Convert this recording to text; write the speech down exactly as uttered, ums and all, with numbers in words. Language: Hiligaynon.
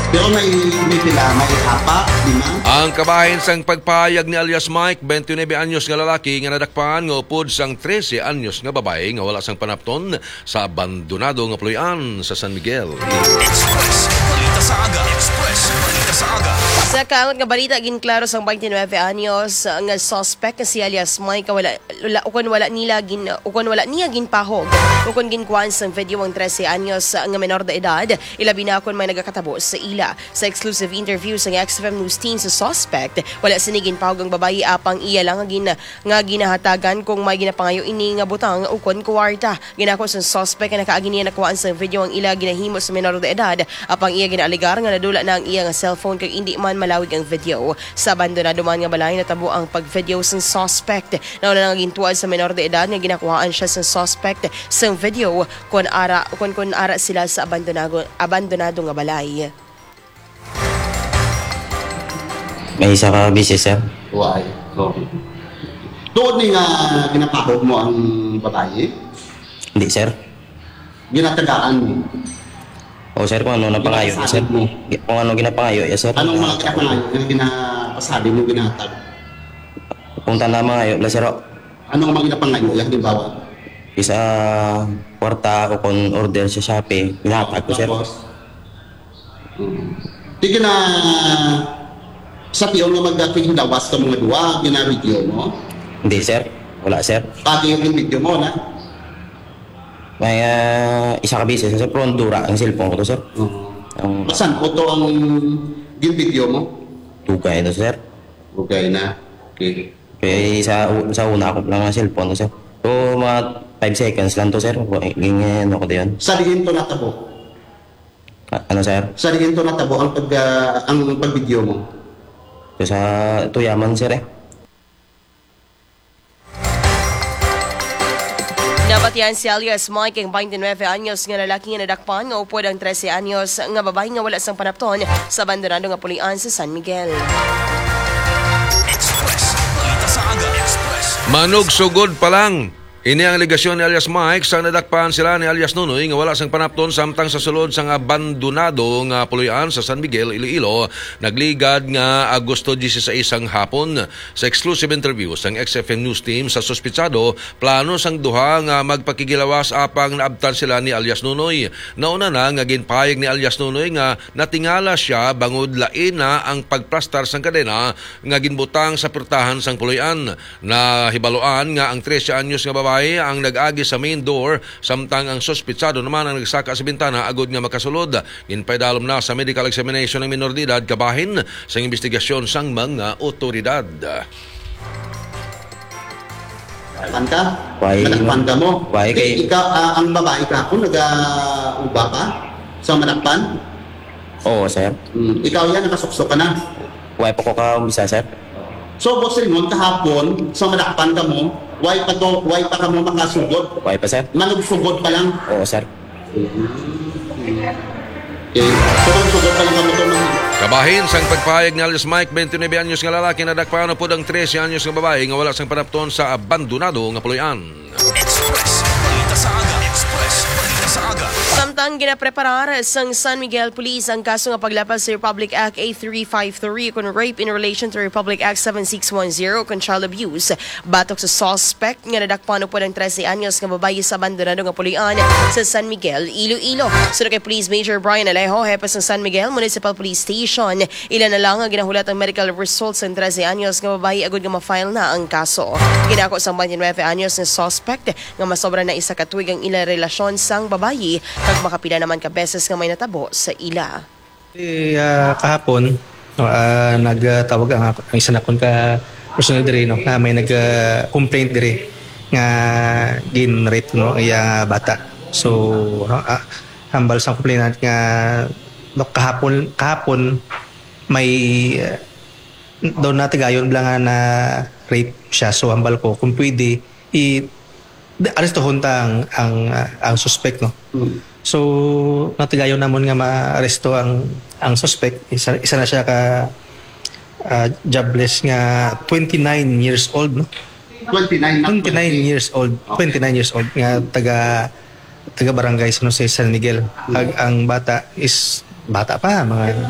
Pero may, may pila, may apat, lima. Ang kabahin sang pagpahayag ni alias Mike, twenty-nine anyos nga lalaki nga nadakpan nga upod sang trese anyos nga babayi nga wala sang panapton sa abandonado nga puloy-an sa San Miguel. Express Balita sa Aga. Express Balita sa Aga. Sa kaangot nga balita, ginklaro sang twenty-nine anyos nga suspect nga si alias Mike nga wala, wala, ukon wala nila gin, ukon wala niya ginpahog, ukon ginkuhaan sang video ang trese anyos nga menor de edad, ilabi na kon may nagakatabo sa ila. Sa exclusive interview sang X F M News Team sa suspect, wala sini ginpahog ang babayi, apang iya lang nga gin-, nga ginahatagan kung may ginapangayo ini nga butang ukon kuwarta. Ginako sang suspect nga nakaagi niya nakuhaan sang video ang ila ginahimo sa menor de edad, apang iya ginaalegar nga nadula na ang iya nga cellphone kag indi man malawig ang video. Sa abandonado man nga balay natabo ang pag-video sang suspect. Nauna na nga gintuad sa menor de edad nga ginakuhaan siya sang suspect sang video kon ara, kon, kon ara sila sa abandonado, abandonado nga balay. May isa ka beses, sir. Why? So, tuod ni nga ginapahog mo ang babayi? Hindi, sir. Ginatagaan mo? O, sir, kung ano napangayo, sir. Ginapasabi mo? Gi-, kung ano ginapangayo, yes, sir. Anong mga ginapangayo nga ginapasabi mo, ginatag? Kung tana mangayo, la, sir, o. Anong mga ginapangayo, halimbawa? Isa, kwarta o kung order sa Shopee, ginatag ko, sir. Tapos? Mm. Di ka na sa tiyon nga magkakiglawas ka mga duwa, gina-video mo? Hindi, sir. Wala, sir. Pati yung video mo, na? May, ah, isa ka beses, sir, pero dura ang cellphone ko to, sir. Oo. Ang Masan po to ang gin-video mo? Dugay na, sir. Dugay na. Okay. Kaya sa, u-, sa una ako lang ang cellphone ko, sir. So, mga five seconds lang to, sir. Ging-, ano ko to yun? Sa diin to natabo? A-, ano, sir? Sa diin to natabo ang pag, ah, ang pag-video mo? Sa Tuyaman, sir, eh. Nabatian si alias Mike, ang twenty-nine anyos nga lalaki nga nadakpan nga upod ang trese anyos nga babayi nga wala sang panapton sa abandonado nga pulian sa San Miguel. Express. Balita sa Aga. Express. Manugsugod pa lang. Ini ang alegasyon ni alias Mike sang nadakpan sila ni alias Nunoy nga wala sang panapton samtang sa sulod sang abandonado nga puloy-an sa San Miguel, Iloilo, nagligad nga Agosto dieciséis sang hapon. Sa exclusive interview sang X F M News Team sa suspitsado, plano sang duha nga magpakigilawas apang naabtan sila ni alias Nunoy. Nauna na nga ginpahayag ni alias Nunoy nga natingala sia bangod lain na ang pagplastar sang kadena nga ginbutang sa pwertahan sang puloy-an. Nahibaluan nga ang trese anyos nga babayi ang nag-agi sa main door, samtang ang suspitsado naman ang nagsaka sa bintana agud nga makasulod. Ginpaidalom na sa medical examination ang minor de edad kabahin sang imbestigasyon sang mga otoridad. Pan ka? Why? Manakpan ka mo? Why kay ikaw, ah, ang babae ka ako, nag-uba ka sa manakpan? Oo, sir. Hmm, ikaw yan, nakasuksok ka na. Why po ko ka umpisa, sir? So, Boss Raymond, kahapon, sa manakpan ka mo, why pa to, why pa ka mo makasugod? Why pa, sir? Manugsugod pa lang. Oo, sir. Okay. So, manugsugod pa lang ka mo to, man. Kabahin sang pagpahayag ni alias Mike, twenty-nine anyos nga lalaki, nadakpan upod ang trese anyos nga babayi nga wala sang panapton sa abandonado nga puloy-an. Express. Balita sa Aga. Express. Balita sa Aga. Samtang ginapreparar sang San Miguel Police ang kaso nga paglapas sa Republic Act eight three five three kon rape in relation to Republic Act seven six one zero kon child abuse, batok sa suspect nga nadakpan upod ang trese anyos nga babayi sa abandonado nga puloy-an sa San Miguel, Iloilo. Suno kay Police Major Brian Alejo, hepe sa San Miguel Municipal Police Station, ila na lang nga ginahulat ang medical results sa trese anyos nga babayi agud nga ma-file na ang kaso. Ginako sang twenty-nine anyos nga suspect nga masobra na isa ka tuig ang ila relasyon sang babayi kag makapila naman ka beses nga may natabo sa ila. Eh, ah, kahapon, no, ah, nagtawag ang, ang isa nakon ka personnel diri, no, nga may nag, ah, complaint diri nga gin-rape, no, iya bata. So, ah, ah, hambal sa complainant nga, no, kahapon, kahapon may, ah, daw natigayon bala nga na rape siya. So, hambal ko kung pwede, i-, arestuhon ta ang, ang, ah, ang suspect, no? Mm. So, natigayon namon nga maaresto ang, ang suspect. Isa, isa na siya ka, ah, jobless nga twenty-nine years old, no? Twenty-nine na Twenty-nine twenty. Years old. Okay. Twenty-nine years old nga taga, taga barangay San Jose, San Miguel. Mm. Ag ang bata is bata pa, mga